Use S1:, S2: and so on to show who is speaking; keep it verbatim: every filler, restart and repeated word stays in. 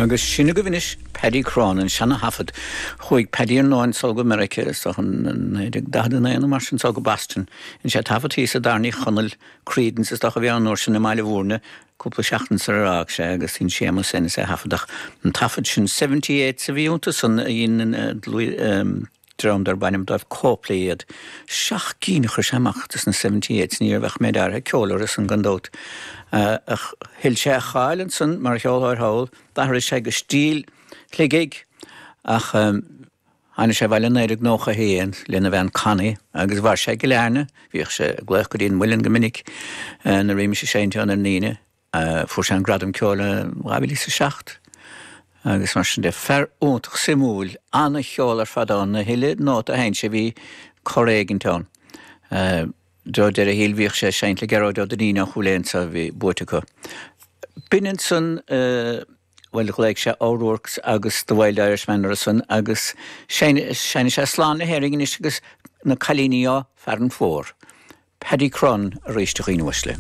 S1: Agus sin agaibh anois Paddy Crone an seana-thaifead. Chuaigh Paddy ar ndóigh anso go Meiriceá is dócha naoi déag daichead a naoi nó mar sin so go Boston. Dhein sé taifeadtaí sa Darach Ní Chonaill Creedence is dócha a bhí ann an uair sin i mBaile Bhúirne cúpla seachtain sar ar fhág sé agus dhein Séamus Ennis é a thaifead ach an taifead sin seventy eights a bhí iontu san a dhein dream darb ainm dóibh Copley iad. Seacht gcinn a chuir sé amach des na seventy eights ní raibh ach méid áirithe ceol orthu san gan dabht. Ach thuill sé a cháil ansan mar cheoltóir thall, d'athraigh sé go stíl Shligigh ach tháinig sé abhaile naoi déag nócha a haon lena bhean Connie agus mhair sé i gCill Airne, bhíodh sé ag glaoch go dtí an Muileann go minic nuair a bhímis ag seinnt ann ar an Aoine. Fuair sé an gradam ceoil i dhá mhíle is a seacht agus mar sin de. Fear iontach suimiúil, an-cheol ar fad ann, na huile nóta a sheinn sé bhí cor éigint ann. I dtreo deireadh a shaoil bhíodh sé ag seinnt le Gearóid Ó Duinnín ó Chúil Aodha anso a bhí buaite acu. B'in ansan, bhuel ghlaoigh sé O'Rourke's agus The Wild Irishman orthu san agus seinnfidh sé slán le hÉirinn anois agus na cailíní ó Farranfore. Paddy Crone arís a dhaoine uaisle.